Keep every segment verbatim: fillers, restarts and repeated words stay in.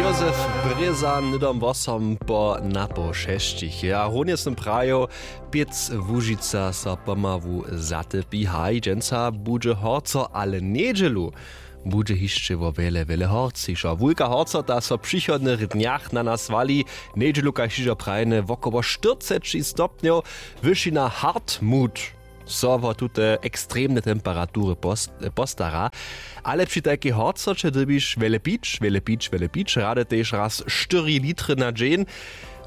Józef Brěza hnydom wosom po napoł šesćich je a runje sym prajił, pěc Łužica so pomału zatypi. Haj, dźensa budźe horco, ale njedźelu budźe hišće wo wjele wjele horcišo. Wulka horcota so w přichodnych dnjach na nas wali. Njedźelu kaž hižo prajene wokoło štyrceći stopnjow. Wyšina Hartmut so wo tute ekstremne temperatury post- postara. Ale při tajkej horcoće dyrbiš wjele pić wjele pić wjele pić, rady tež raz štyri litry na dźeń.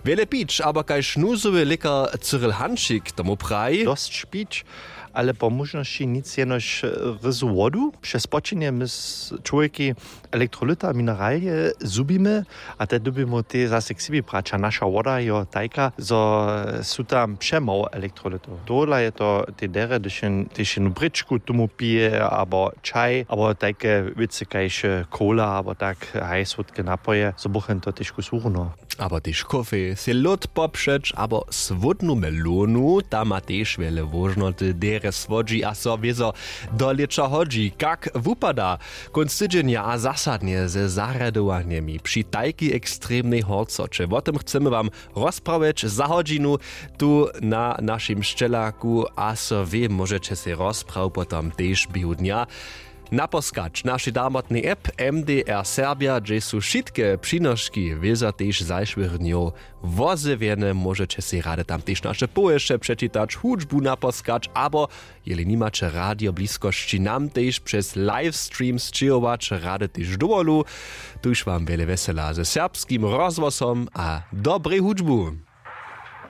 Wjele pić abo kaž nuzowy lěkar Cyril Hanšik tomu praji, dosć pić, ale po móžnosći nic jenož ryzu wodu. Přez spočenje my s- čłowjeki elektrolyta mineralije zhubimy, a te dyrbimy tež zase k sebi brać a naša woda jo tajka zo su tam přemało elektrolytow. Tohodla je to tej derje hdyž jen tež jednu brěčku tomu pije abo čaj abo tajke wěcy kaž cola abo tak, haj słódke napoje zo buchen to tež kus hurno. Abo tež kofej sej lód popřeć abo słódnu melonu, ta ma tež wjele wóžnoty derje słodźi a so wězo do lěća hodźi. Kak wupada kónc tydźenja a zasadnje ze zarjadowanjemi při tajkej ekstremnej horcoće, wo tym chcemy wam rozprawjeć za hodźinu. Tu na našim sćelaku a so wě móžeće sej rozprawu potom tež běhu dnja naposkać w našej damotnej app. M D R Serbja, hdźež su wšitke přinoški wězo tež zašłych dnjow wozjewjene, móžeće sej rady tam tež naše powěsće přečitać, hudźbu naposkać abo jeli nimaće radio w bliskosći, nam tež přez livestream sćěhować rady tež dowolu. Tuž wam wjele wjesela ze serbskim rozhłosom a dobrej hudźbu.